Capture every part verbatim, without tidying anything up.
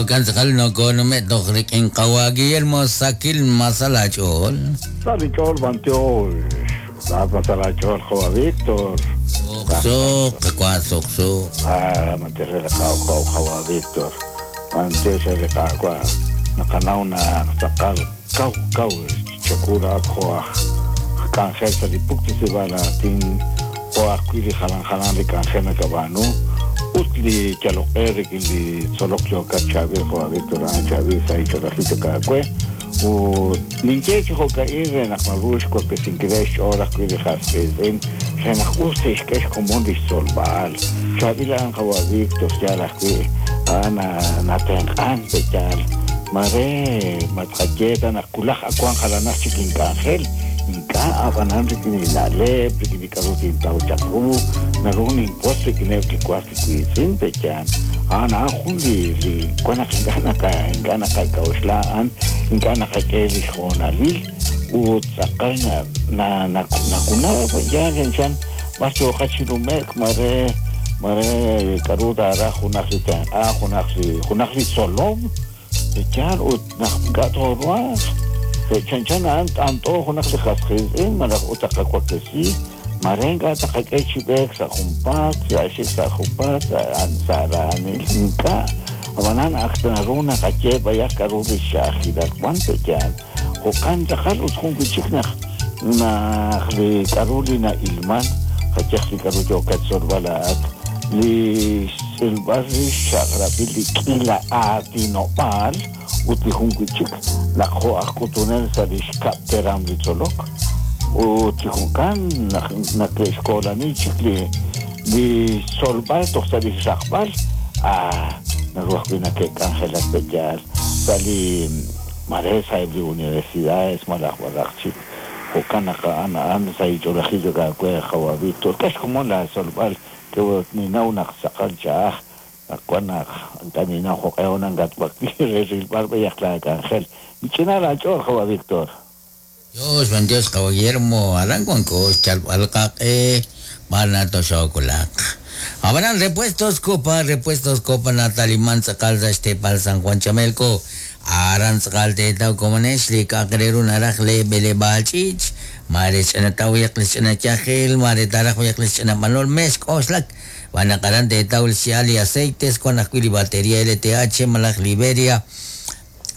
Jo'kan tz'aqal nokonume' toj rik'in qawa Guillermo Sakil Masalach'ool. Sa linch'ool bantiox. Laat Masalach'ool qawa Víctor. Suqsuq, qawa suqsuq. Ah, mantere qaw qaw qawa Víctor. Bantiox re qawa. Naqanaw naq tz'aqal kaw kaw chakura joaj k'anjel sa li puktasib'aal aatin jo' ajwi' li jalan jalan li k'anjel nakab'aanu ut li yaloq'e rik'in li tzolok yookat chaab'il qawa Víctor a'an chaab'il sa' icholajil kaawe ut ninye chi jo'ka'in re naq naru xwaklesinkil xch'ool ajwi' li jas qiitz'in re naq us te'xk'e xkomon li xtzolb'al chaab'il a'an qawa Víctor yaal ajwi' a'an natenq'an pe yaal mare matqaye ta naq kulaj akuan jalanaj chik ink'anjel ink'a' ab'anan rik'in li na'leb' rik'in li k'a'ru tintaw chaq ru naru ninwotz rik'ineb' li was li wiitz'in pe yaal a'an a'an jun li li wan naq ink'a' naqa ink'a' naqak'a'uxla a'an ink'a' naqak'e li xhoonalil ut tz'aqal na na nakunaw yaal chanchan b'ar yooqat chi nume'k mare mare k'a'ru taaraj junaq li tenq'a junaq li junaq li tzolom yaal ut naq ink'a' tooruhanq chanchan a'an t'ant'o junaq li jas qiitz'in malaj ut taqawaklesi mare ink'a' taqak'e chi b'eek sa' junpaat sa' xik sa' junpaat sa' raanil ink'a' ab'anan ak naru naqaye b'ayaq k'a'ru li xch'a'ajkilal wan pe yaal jo'kan tz'aqal ut jun wi' chik naq naq li k'a'ru li na'ilman qayej li k'a'ru yookat tzolb'al a'at li xtz'ilb'al li xchaq'rab'il li k'ila aatinob'aal ut li jun wi' chik naq jo' aj k'utunel sa' li xkab' teram li tzolok ut chi jo'kan naq nake'xkoolani chik li li tzolb'al toj sa' li xraqb'al ah naru ajwi' nake'k'anjelak pe yaal sa' li mare sa'eb' li universidades malaj malaj chik jo'kan naq a'an a'an sa' ich'olajil kaawe qawa Víctor k'e xkomon la tzolb'al ke ninaw naq tz'aqal ch'a'aj naq wan naq ink'a' ninaw jo'q'e onan katwakli re rilb'al b'ayaq la k'anjel mich'ina laach'ool qawa Víctor. Dios, buen Dios, qawa Guillermo, aran wanko xchalb'al qaq'e b'ar toxokulaq. Ab'anan repuestos Copa, repuestos Copa nataliman tz'aqal sa' xteepal San Juan Chamelco. Aran tz'aqal teetaw komonex li k'a'aq re ru naraj le b'eleb'aal ch'iich' mare ch'inataw yaq li ch'inayajil mare taraj yaq li ch'inab'anol mex k'oxlak b'anaq aran teetaw li xya'al li aceites wan ajwi' li batería L T H malaj Liberia.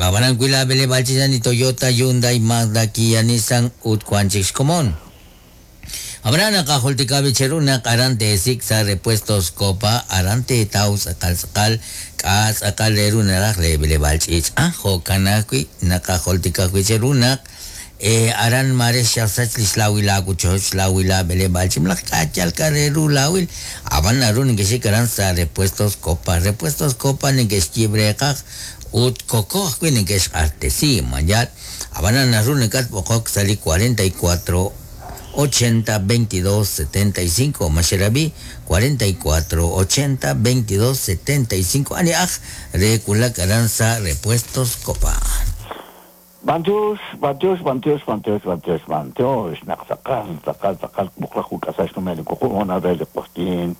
Ab'anan wi' la b'eleb'aal ch'iich' ni Toyota, Hyundai, Mazda, Kia, Nissan ut wan chik xkomon. Ab'anan naqajultika bicheru naq aran teesik' sa' repuestos Copa aran teetaw tz'aqal tz'aqal k'a' tz'aqal re ru naraj le b'eleb'aal ch'iich' ah jo'kan ajwi' naqajultika bicheru naq eh aran mare xasach li xlawil aawochoch xlawil aab'eleb'aal ch'iich malaj k'a' yal k'a' re ru lawil ab'an naru neke'xik aran sa' repuestos Copa repuestos Copa neke'xyiib' reeqaj ut koko ajwi' neke'xq'axtesi mayal ab'anan naru nekatb'oqok sa' li cuarenta y cuatro ochenta veintidós setenta y cinco Maxerabi cuarenta y cuatro ochenta veintidós setenta y cinco ani aj re kulak aran sa' repuestos Copa. Bantiox, bantiox, bantiox, bantiox, bantiox, bantiox, naq tz'aqal, tz'aqal, tz'aqal, buqlaj uk'asax numel kuju' ona re li q'oqyin,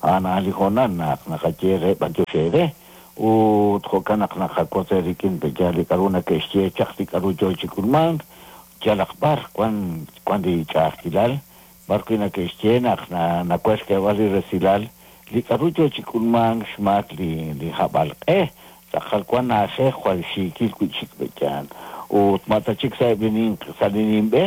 ana li jonan naq naqaye re bantiox ere, ut jo'kan naq naqakotz rik'in pe yaal li k'a'ru nake'xye chaq li k'a'ru yoo chi k'ulmank, yalaq b'ar wan wan li ch'a'ajkilal, b'ar wi' nake'xye naq nakuex xk'eeb'al li resilal, li k'a'ru yoo chi k'ulmank xmaak li li hab'alq'e, tz'aqal wan na'ajej jwal xiikil wi' chik pe yaal. Ut mata chik sa'eb' li nin sa' li ninb'e,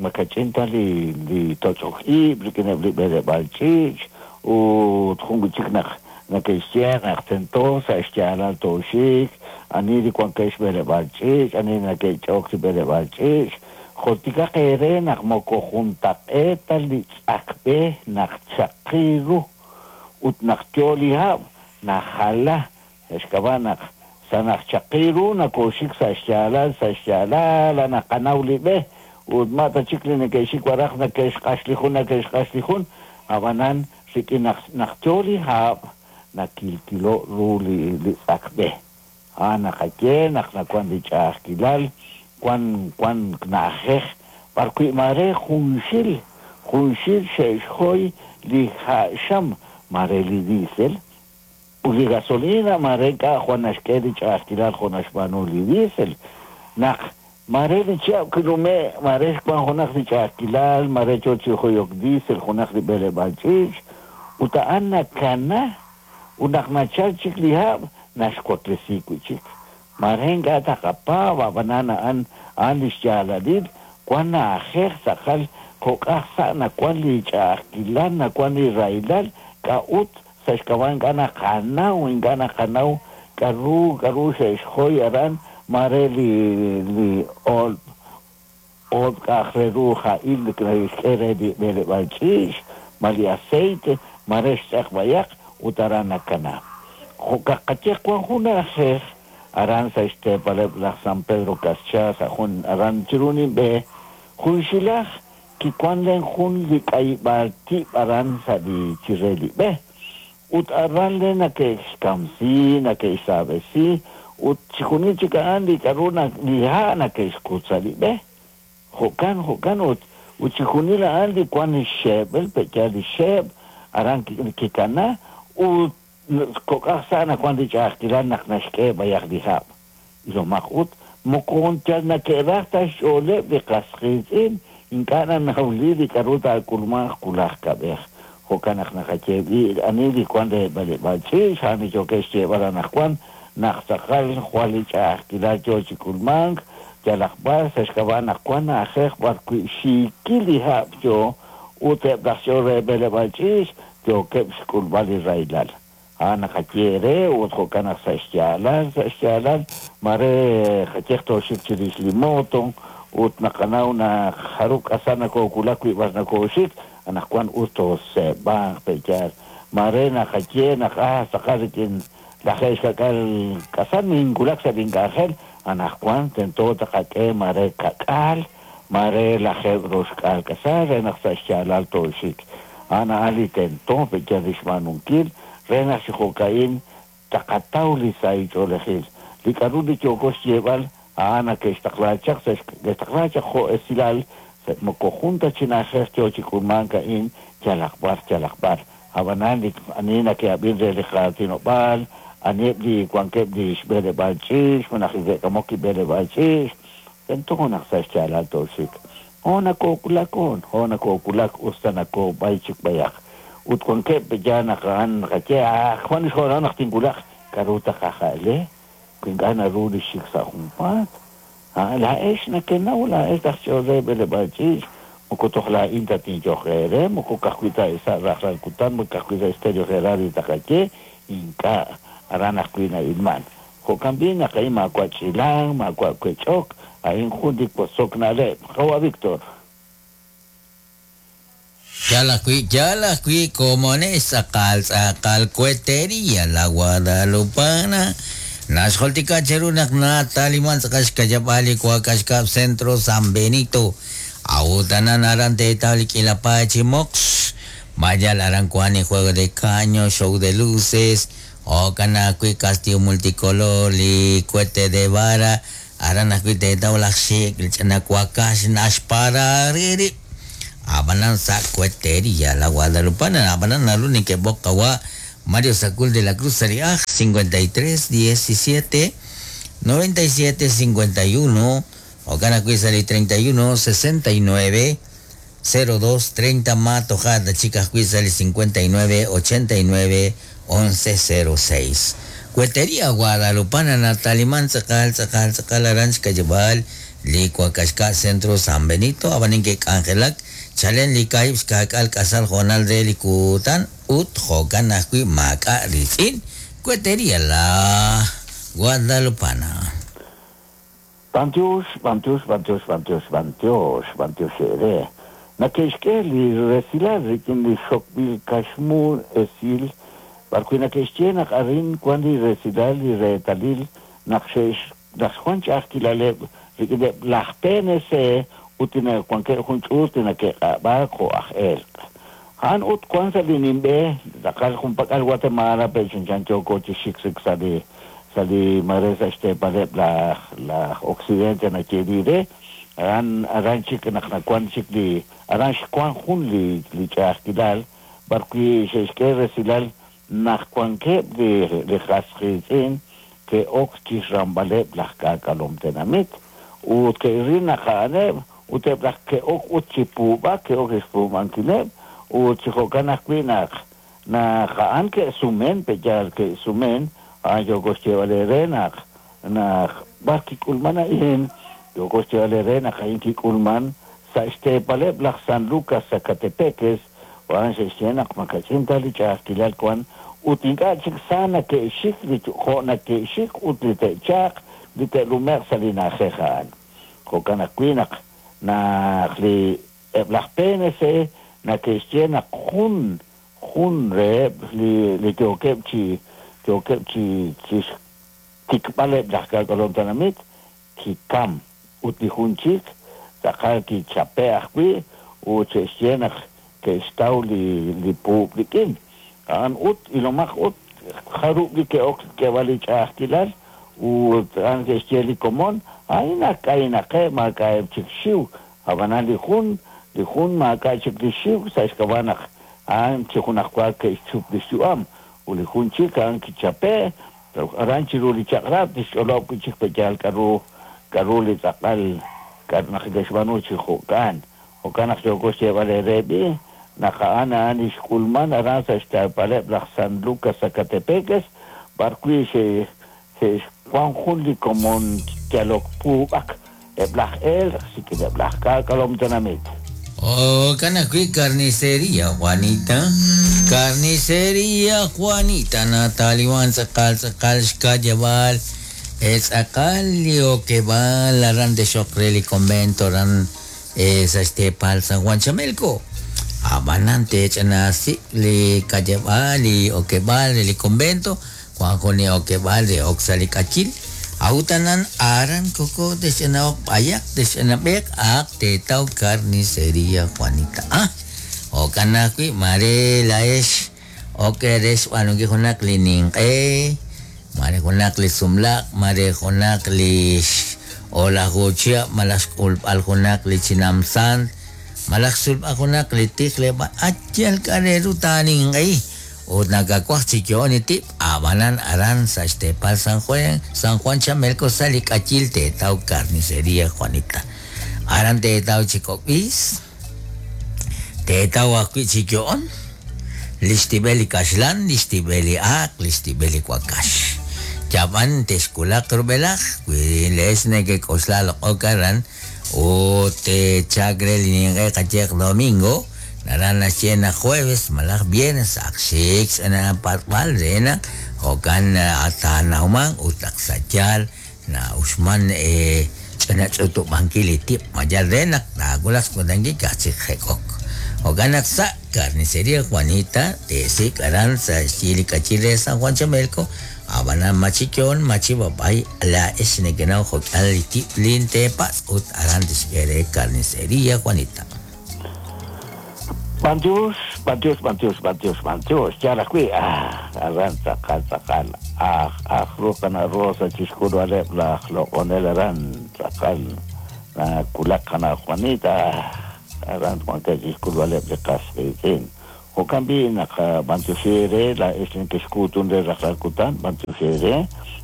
makach'in ta li li toch'ok ib' rik'ineb' li b'eleb'aal ch'iich', ut jun wi' chik naq nake'xye naq tento sa' xyaalal tooxik, ani li wankeb' xb'eleb'aal ch'iich', ani nake'ch'ok li b'eleb'aal ch'iich', jultikaq eere naq moko juntaq'eeta li tz'akb'e naq chaqi ru ut naq yoo li hab' najala xk'ab'a' naq sa' naq chaqi ru nakoxik sa' xyaalal sa' xyaalal naqanaw li b'e ut mata chik li neke'xik waraj nake'xq'ax li jun nake'xq'ax li jun ab'anan rik'in naq naq yoo li hab' nakilkilo ru li li tz'akb'e. Ah, naqaye naq nawan li ch'a'ajkilal wan wan na'ajej b'ar wi' mare junxil junxil xe'xjoy li ha'xam mare li diesel Ut li gasolina mare ink'a' jwal naxk'e li ch'a'ajkilal jo' naxb'aanu li diesel. Naq mare li chihab' kinume' mare xwan junaq li ch'a'ajkilal, mare yo chi joyok diesel junaq li b'eleb'aal ch'iich', ut a'an nakana, ut naq nachal chik li hab' naxwaklesi wi' chik. Mare ink'a' taqapaab' ab'anan a'an a'an li xyaalalil wan na'ajej tz'aqal kok'aj sa' nawan li ch'a'ajkilal, nawan li rahilal, k'a'ut sa' xk'ab'a' ink'a' naqanaw, ink'a' naqanaw k'a'ru k'a'ru xe'xjoy aran mare li li oolb' oolb' k'a'aq re ru ja'il xk'e re li b'eleb'aal ch'iich', ma li aceite, mare xtz'aq b'ayaq ut aran nakana. Jo'kan qaye wan jun na'ajej aran sa' xteepaleb' laj San Pedro Caschá sa' jun aran chiru ninb'e junxilaj kiwan len jun li k'ayib'aal tib' aran sa' li chire li b'e. Ut aran len nake'xkamsi, nake'xsaab'esi, ut chixjunil chik a'an li k'a'ru li ha' nake'xkut sa' li b'e. Jo'kan, jo'kan ut ut chixjunil a'an li wan li xeeb'el, pe'yaal li xeeb' aran kikana ut kok'aj sa' nawan li ch'a'ajkilal naq naxk'e b'ayaq li hab'. Ilomaq ut moko yal nake'raj ta xch'ooleb' li qas qiitz'in ink'a' nanawli li k'a'ru taak'ulmanq wulaj kab'ej. Jo'kan naq naqaye b'i ani li wan re b'eleb'aal ch'iich', a'an li yookeb' xyeeb'al anaqwan naq tz'aqal jwal li ch'a'ajkilal yo chi k'ulmank, yalaq b'ar sa' xk'ab'a' naq wan na'ajej b'arwi' xiikil li hab' yo ut eb' laj ch'ool re b'eleb'aal ch'iich' yookeb' xk'ulb'al li rahilal. A'an naqaye re ut jo'kan naq sa' xyaalal, sa' xyaalal, mare qayeq tooxik chirix li moto ut naqanaw naq jarub' k'asal nakookulak wi' b'ar nakooxik, anaqwan us tooseeb'anq pe'yaal. Mare naqaye naq ah tz'aqal rik'in lajeeb' xka'k'aal k'asal ninkulak sa' link'anjel, anaqwan tento taqak'e mare ka'k'aal, mare lajeeb' roxk'aal k'asal re naq sa' xyaalal tooxik. A'an a'an li tento pe'yaal li xb'aanunkil re naq chi jo'ka'in taqataw li sahil ch'oolejil. Li k'a'ru li yooko xyeeb'al a'an nake'xtaqla chaq sa' ke'xtaqla chaq jo' esilal sa' moko jun ta chi na'ajej yo chi k'ulmank a'in yalaq b'ar yalaq b'ar. Ab'anan li ani nake'ab'in re li qaatinob'aal, aniheb' li wankeb' li xb'eleb'aal ch'iich', malaj li ke'k'amok li b'eleb'aal ch'iich', tento naq sa' xyaalal tooxik. Ho nakookulak on, ho nakookulak usta nakoob'ay chik b'ayaq. Ut wankeb' pe'yaal naq a'an naqaye, ah, jwan xhoral naq tinwulaq, k'a'ru taqaja'le, wi ink'a' naru li xik sa' junpaat. Ah, laa'ex nakenaw, laa'ex laj ch'ool re b'eleb'aal ch'iich', moko toj laa'in ta tinyoq eere, moko ka'ajwi' ta sa' rajlal kutan, moko ka'ajwi' sa' Estéreo Gerardo taqaye, ink'a' aran ajwi' na'ilman. Jo'kan b'i' naq a'in maawa' ch'ilang, maawa' wech'ok, a'in jun li wotzok na'leb'. Qawa' Víctor. Yal ajwi', yal ajwi', komonex tz'aqal tz'aqal cuetería la Guadalupana. Naxjultika cheru naq nataliman tz'aqal xkayab'al li Wak'axkab' Centro San Benito. Awutanan aran teetaw li k'ila paay chi moqx. Mayal aran kuan ni juego de caño, show de luces, jo'kan ajwi' castillo multicolor, li cohete de vara, aran ajwi' teetaw laj xik', li ch'ina wakax naxpara riri. Ab'anan sa' cuetería la Guadalupana, ab'anan naru neke'b'oq qawa' Mario Sacul de la Cruz Sariaj, cincuenta y tres diecisiete noventa y siete cincuenta y uno, jo'kan ajwi' sa' li treinta y uno sesenta y nueve cero dos treinta Matojada, chicas ajwi' sa' li cincuenta y nueve ochenta y nueve once cero seis. Cuetería Guadalupana, Natalimán, tz'aqal, tz'aqal, tz'aqal, aran xkayab'al, li Wak'axka' Centro San Benito, ab'anin ke'k'anjelak, chalen li kaahib' xka'k'aal k'asal jo'nal re li kutan, ut jo'kan ajwi' maak'a' ritz'in, Cuetería la Guadalupana. Bantiox, bantiox, bantiox, bantiox, bantiox, bantiox ere. Nake'xk'e li resilal rik'in li xokb'il kaxmu esil, b'arwi' nake'xye naq arin wan li resilal li reetalil naq xe'x naq xwan ch'a'ajkilaleb' rik'ineb' laj P N C ut li wankeb' jun ch'uut li nake'q'ab'aak jo' aj elq'. A'an ut wan sa' li ninb'e, tz'aqal junpak'al Guatemala, pe chanchan yooko chi xik sik sa' li sa' li mare sa' xteepaleb' laj, laj Occidente nayeeli re, aran, aran chik naq nawan chik li, aran xwan jun li, li ch'a'ajkilal, b'arwi' xe'xk'e resilal naq wankeb' li li qas qiitz'in ke'ok chixramb'aleb' laj k'aak'alom tenamit ut ke'ril naq a'aneb' ut eb' laj ke'ok ut chi puub'ak ke'ok xpuub'ankileb' ut chi jo'kan ajwi' naq naq a'an ke'sumen pe'yaal ke'sumen a'an yooko xyeeb'al eere naq naq b'ar kik'ulman a'in yooko xyeeb'al eere naq a'in kik'ulman sa' xteepaleb' laj San Lucas Sacatepéquez a'an xe'xye naq makach'in ta li ch'a'ajkilal wan ut ink'a' chik sa nake'xik li jo' nake'xik ut li te'chaaq li te'lumeq sa' li na'ajej a'an jo'kan ajwi' naq naq li eb' laj P N C nake'xye naq jun jun reheb' li li yookeb' chi yookeb' chi chi xtikb'aleb' laj k'aak'alom tenamit kikam ut li jun chik tz'aqal kichape' ajwi' ut xe'xye naq ke'xtaw li li puub' rik'in a'an ut ilomaq ut jarub' li ke'ok k'eeb'al li ch'a'ajkilal ut a'an ke'xye li komon a'in naq k'aynaqeb' maak'a'eb' chik xiw ab'anan li jun li jun maak'a' chik li xiw sa' xk'ab'a' naq a'an chi junajwa ke'xchup li xyu'am ut li jun chik a'an kichape' aran chiru li chaq'rab' tixch'olob' wi' chik pe'yaal k'aru k'aru li tz'aqal k'aru naq ke'xb'aanu chi jo'kan jo'kan naq yooko xyeeb'al eere b'i naq a'an a'an li xk'ulman aran sa' xteepaleb' laj San Lucas Sacatepéquez b'ar wi' xe xe'xwan jun li komon yalok puub'ak eb' laj elq sik'ineb' laj k'aak'alom tenamit. Oh, kanakui carnicería Juanita, carnicería Juanita, Nataliwan tz'aqal tz'aqal xkayab'al tz'aqal li okeb'al aran de xoq re li convento ran sa' xteepal San Juan Chamelco. Ab'anan tech'anasi li kayab'al li okeb'al li convento Juan jun li okeb'al re ok sa' li k'achil awtanan aran koko tex'anaok b'ayaq tex'anab'eq aq teetaw carnicería Juanita. Ah, jo'kan ajwi' mare laex ok re xb'aanunkil junaq li ninq'e mare junaq li sumlaq mare junaq li olajuchia malaj xk'ulb'al junaq li chinamsan malaj xsulb'al junaq li tijleb'al atyal k'areru taaninq'e ut nakakuaj chi yo'on tib' ab'anan aran sa' xteepal San Juan San Juan Chamelco sa' li k'achil teetaw carnicería Juanita aran teetaw chi kok'b'is teetaw ajwi' chi yo'on li xtib'el li kaxlan li xtib'el li aaq li xtib'el li wakax yab'an texkulaq rub'elaj wi leex nekek'oxla loq'ok aran ut techak re li ninq'e qayeq domingo naran naxye naq jueves malaj viernes aq xik na patb'al re naq jo'kan atanawman ut aq sa' yaal na uxman ch'anach'utub'ankil li tib' mayal re naq taawulaq xkutankil ka'aj chik jek'ok jo'kan naq sa' carnicería Juanita teesik' aran sa' xyi li k'achil re San Juan Chamelco ab'anan machiyon machib'ab'ay laa'ex nekenaw jo'k'al li tib' lin teepatz' ut aran tixk'e re carnicería Juanita. Bantius, bantius, bantius, bantius, bantius. Yal ajwi' ah, aran tz'aqal tz'aqal aj aj ruqana rosa chixk'ulb'aleb' laj loq'onel aran tz'aqal nakulaq qana Juanita aran wankeb' chixk'ulb'aleb' li qas qiitz'in jo'kan b'i' naq bantioxi re laa'ex neke'xkuutun re rajlal kutan bantioxi re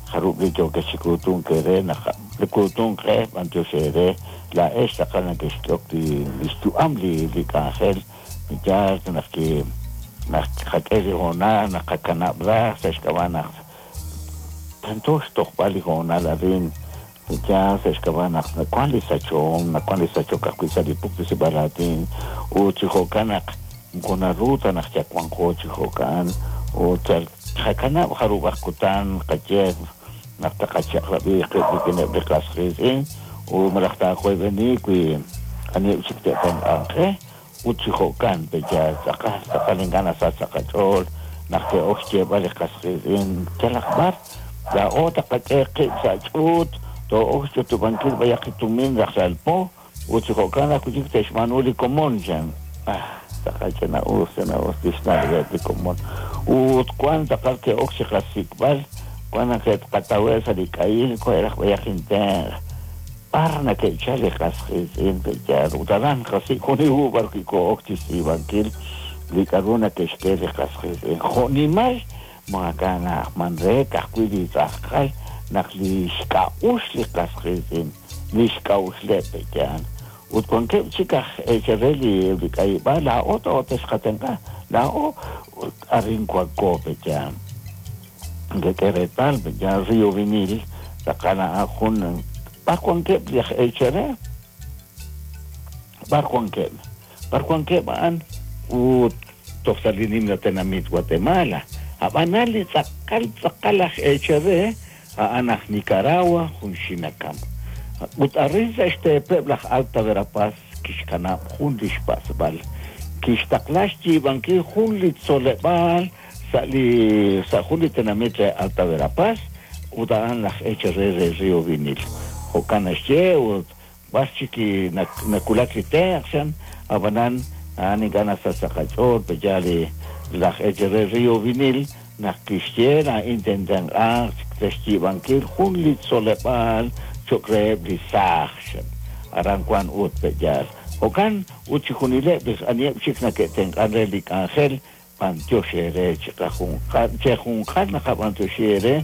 jarub' li yookex chi kuutunk re naq li kuutunk qe bantioxi re laa'ex tz'aqal neke'xk'ok li li xyu'am li li k'anjel ya naq ki naq qak'e li hoonal naq qakanab' raj sa' xk'ab'a' naq tento xtojb'al li hoonal arin ya sa' xk'ab'a' naq nawan li sachom nawan li sachok ajwi' sa' li puktisib'al aatin ut chi jo'kan naq moko naru ta naq yawanqo chi jo'kan ut yal qakanab' jarub' aj kutan qaye naq taqachaq'rab'i qib' rik'ineb' li qas qiitz'in ut malaj taajoyb'eni wi aniheb' chik te'tenq'anq qe ut chi jo'kan pe'yaal tz'aqal tz'aqal ink'a' nasach sa' qach'ool naq ke'ok xyeeb'al li qas qiitz'in yalaq b'ar laa'o taqak'e qib' sa' ch'uut too'ok xch'utub'ankil b'ayaq li tumin rajlal po ut chi jo'kan ajwi' chik te'xb'aanu li komon chan ah tz'aqal ch'ina'us ch'ina'us li xna'leb'eb' li komon ut wan tz'aqal ke'ok chi qasik'b'al wan naq ke'qatawe' sa' li k'ayil ko'eraj b'ayaq intenq b'ar nake'chal li qas qiitz'in pe'yaal ut aran qasik' jun li hu b'ar wi' ko'ok chi xtz'iib'ankil li k'aru nake'xk'e li qas qiitz'in jo'nimal maak'a' na'ajman re ka'ajwi' li tz'aqal naq li xk'a'uxl li qas qiitz'in li xk'a'uxleb' pe'yaal ut wankeb' chik aj eechal re li li k'ayib'aal laa'o to'texqatenq'a laa'o arin wanko pe'yaal nkek'e reetal pe'yaal Río Vinil tz'aqal a'an jun b'ar wankeb' li aj eechal re b'ar wankeb' b'ar wankeb' a'an ut toj sa' li nimla tenamit Guatemala ab'anan li tz'aqal tz'aqal aj eechal re a'an aj Nicaragua jun xinakam ut arin sa' xteepeb' laj Alta Verapaz kixkanab' jun li xpasb'al kixtaqla xyiib'ankil jun li tzoleb'aal sa' li sa' jun li tenamit re Alta Verapaz ut a'an laj eechal re re Río Vinil jo'kan naxye ut b'ar chik nakulak li tenq' xan ab'anan a'an ink'a' nasach sa' qach'ool pe'yaal li laj eechal re Río Vinil naq kixye laa'in tentenq'aaq sa' xyiib'ankil jun li tzoleb'aal cho'q reheb' li saaj xan aran wan ut pe'yaal jo'kan ut chijunileb' li aniheb' chik nake'tenq'an re li k'anjel b'antiox eere chiqajunqal chejunqal naqab'antioxi eere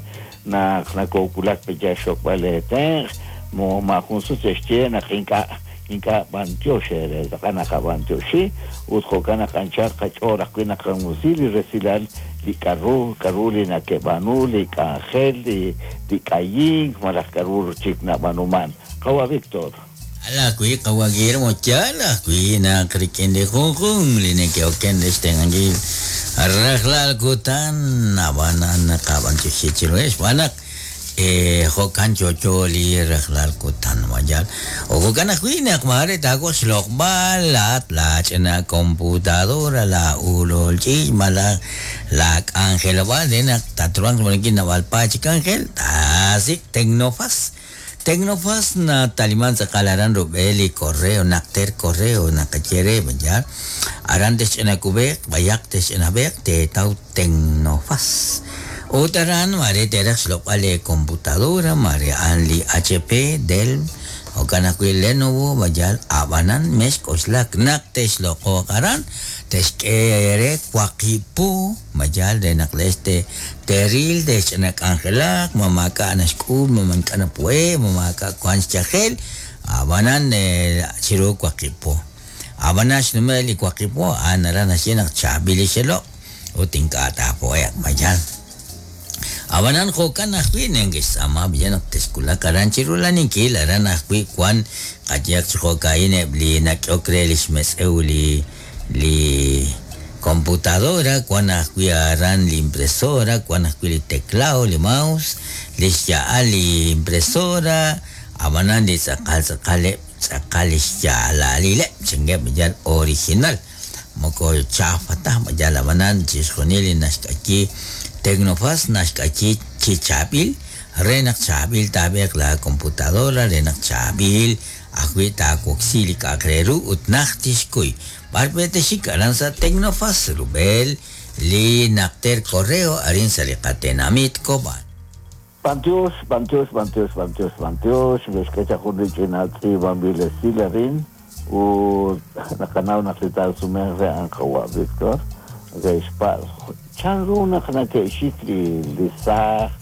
naq nakookulak pe'yaal xokb'al eetenq' mo maajun sut xe'xye naq ink'a' ink'a' b'antiox eere tz'aqal naqab'antioxi ut jo'kan naq anchal qach'ool ajwi' naqamusi li resilal li k'aru k'aru li nake'b'aanu li k'anjel li li k'ayink malaj k'aru chik nab'aanuman qawa Víctor. Ala ajwi' qawa Guillermo yaal ajwi' naq rik'in li junjun li neke'oken re xtenq'ankil rajlal kutan ab'anan naqab'antioxi chiruheb' xb'aan naq jo'kan chocho li rajlal kutan mayal o jo'kan ajwi' naq maare taawaj xloq'b'al laat la ch'ina computadora la ulol ch'iich' malaj la k'anjelob'aal re naq tatruhanq xb'aanunkil naab'al paay chi k'anjel taasik' Tecnofaz Tecnofaz nataliman tz'aqal aran rub'el li correo naqter correo naqaye re mayal aran texch'inakub'eq b'ayaq texch'inab'eq teetaw Tecnofaz ut aran mare teraj xloq'b'al li computadora mare a'an li H P Dell jo'kan ajwi' Lenovo mayal ab'anan mexk'oxlak naq texloq'oq aran texk'e re waqib' po mayal re naq lex te teril texch'ina k'anjelaq ma maak'a' naxk'ul ma mank'a' napu'e ma maak'a' wan xyajel ab'anan chiru waqib' po ab'anan xnume' li waqib' po a'an aran naxye naq chaab'il li xeloq' ut ink'a' taapo'e'q mayal ab'anan jo'kan ajwi' neke'xtz'aama b'iyal naq texkulak aran chiru laninkil aran ajwi' wan qayehaq chi jo'ka'in eb' li nak'ehok re li xmetz'ew li li computadora wan ajwi' aran li impresora wan ajwi' li teclado li mouse li xya'al li impresora ab'anan li tz'aqal tz'aqaleb' tz'aqal li xya'alalileb' chingeb' b'iyal original moko chafa taj mayal ab'anan chixjunil li naxk'ayi Tecnofaz naxk'ayi chi chaab'il re naq chaab'il taab'eq la computadora re naq chaab'il ajwi' taawoksi li k'a'aq re ru ut naj tixkuy b'ar texik aran sa' Tecnofaz rub'el li naqter correo arin sa' li qatenamit Cobán. B'antiox, b'antiox, b'antiox, b'antiox, b'antiox xk'e chaq jun li ch'ina tz'iib'anb'il esil arin ut naqanaw naq li taasumenq re a'an qawa Víctor xpa' chanru naq nake'xik li li saaj